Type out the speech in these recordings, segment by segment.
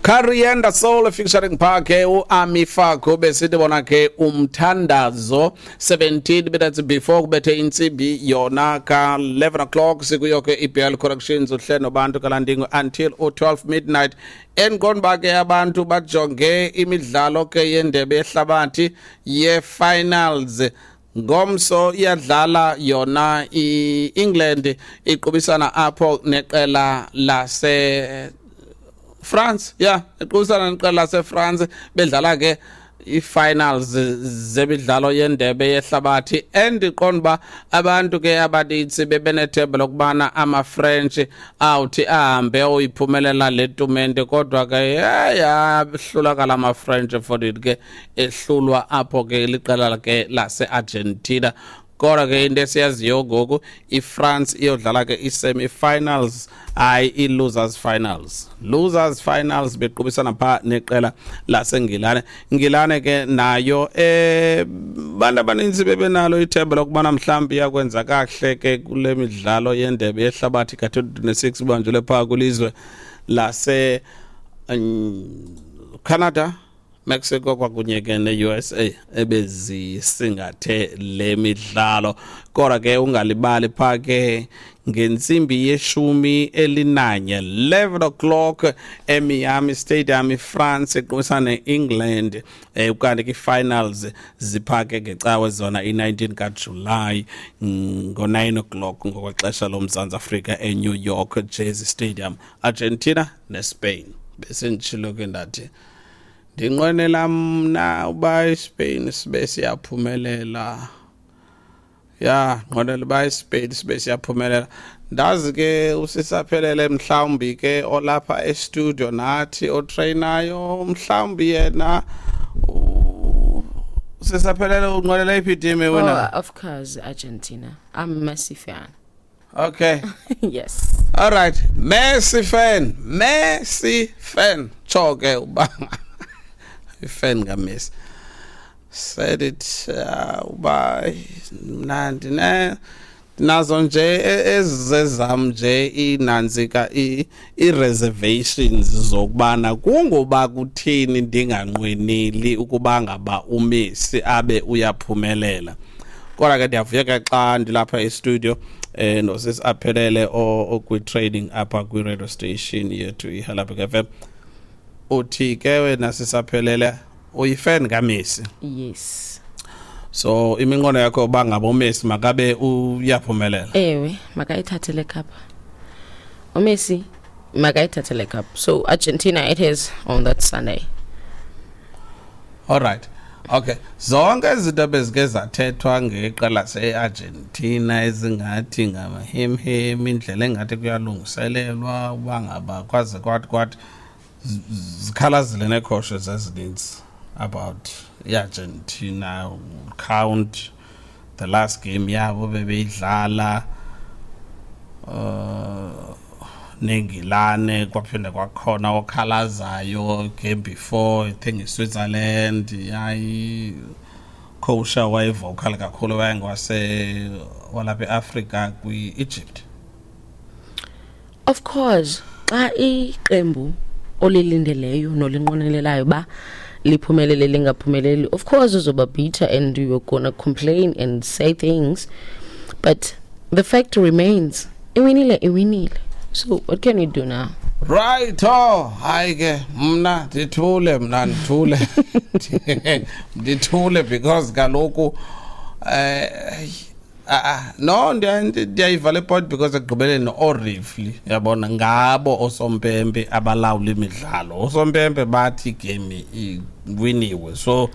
Carienda Soul featuring Parke uAmi Faku, besithi bona ke umthandazo. 17 minutes before kubethe intsimbi yona ka 11 o'clock, sikuyo ke iBL Corrections, uhle nobantu kalandingo until u12 midnight. Endiqonda uba ke abantu bajonge imidlalo ke yendebe yehlabathi ye-finals. Ngomso iyadlala yona i-England, iqubisana apho neqela lase France, yeah, iqubisana neqela lase-France, bedlala ke i-finals zemidlalo yendebe yehlabathi. Endiqonda uba abantu ke abanintsi bebenethemba lokubana ama-French awuthi ahambe oyiphumelela le tumente, kodwa ke yahlulakala ama-French for it ke, ehlulwa apho ke liqela ke lase-Argentina. Kodwa ke into esiyaziyo ngoku, iFrance iyodlala ke i-semi-finals, hayi, i-losers finals, losers finals, bequbisana phaa neqela laseNgilane. Ngilane ke nayo bantu abaninzi bebenalo ithemba lokubana mhlawumbi iyakwenza kakuhle ke kule midlalo yendebe yehlabathi ka-2026 ibanjelwe phaa kwilizwe lase Canada, Mexico kwakunye ke ne-USA ebezisingathe le midlalo. Kodwa ke ungalibali phaa ke ngentsimbi ye-11, 11 o'clock, eMiami Stadium, iFrance iqubisana ne-England, ukanti ke i-finals ziphake ngecawe zona i-19 kaJulayi ngo-9 o'clock ngokwexesha loMzantsi Afrika eNew York Jersey Stadium, Argentina neSpain. Besenditshilo ke, ndathi ndinqwenela mna uba iSpain sibe siyaphumelela. Ya, nqwenela uba iSpain sibe siyaphumelela. Ndazi ke usisaphelele mhlawumbi ke olapha e-studio nathi otrainayo, mhlawumbi yena usisaphelele unqwenela iphi team wena? Oh, of course, Argentina. I'm a Messi fan. Okay. Yes. All right, Messi fan, Messi fan. Tsho ke uba ifan kaMessi. Said it uba mna ndine nazo nje ezezam nje inantsika i-reservations zokubana kungoba kuthini ndinganqweneli ukuba ngaba uMessi abe uyaphumelela. Kodwa ke ndiyavuya ke xa ndilapha e-studio nosisi aphelele okwi-training apha kwi-radio station yethu iHelabek FM. Uthi ke wena sisaphelele uyifan kaMessi? Yes. So iminqono yakho uba ngaba uMessi makabe uyaphumelela? Ewe, makayithathe le cup. uMessi makayithathe le cup. So Argentina it is on that Sunday. All right. Okay, zonke izinto bezike zathethwa ngeqela lase-Argentina ezingathi ngamahemhem, indlela engathi kuyalungiselelwa uba ngaba kwaze kwathi zikhalazile neekhoshe zezininzi about i-Argentina, count the last game yabo bebeyidlala neNgilane, kwaphinde kwakhona okhalazayo game before, I think iSwitzerland yayi coach wayevocal kakhulu, wayengwase walapha eAfrica kwi-Egypt. Of course, xa iqembu olilindeleyo nolinqwenelelayo uba liphumelele lingaphumeleli, of course uzoba bitter and you're gonna complain and say things, but the fact remains, iwinile, iwinile. So what can we do now? Right, oh, hayi ke mna ndithule, mna ndithule, ndithule, because kaloku no, ndiyayiva le point, because ekugqibeleni oorefli yabona ngabo osompempe abalawula imidlalo. Osompempe bathi igame iwiniwe, so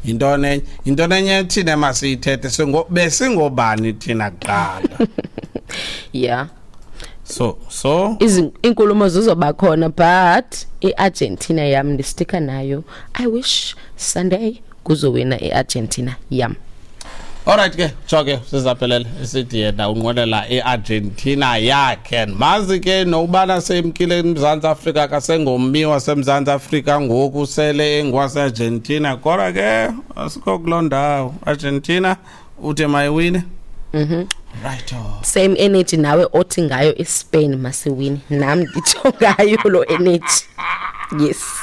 yintoni enye, yintoni enye thina masiyithethe? Besingobani thina kuqala? So Iinkulumo zizoba khona, but iArgentina yam ndistika nayo. I wish Sunday kuzowina iArgentina yam. Alright ke, tsho ke sizaphelele isithi yena unqwenela iArgentina yakhe. Mazi ke nokubana semkile eMzantsi Afrika, kasengommi waseMzantsi Afrika ngoku, sele engwase-Argentina, kodwa ke asikho kuloo ndawo. Argentina uthe mayiwine. Right, oh. Same energy nawe othi ngayo iSpain masiwini, nam nditsho ngayo lo energy. Yes.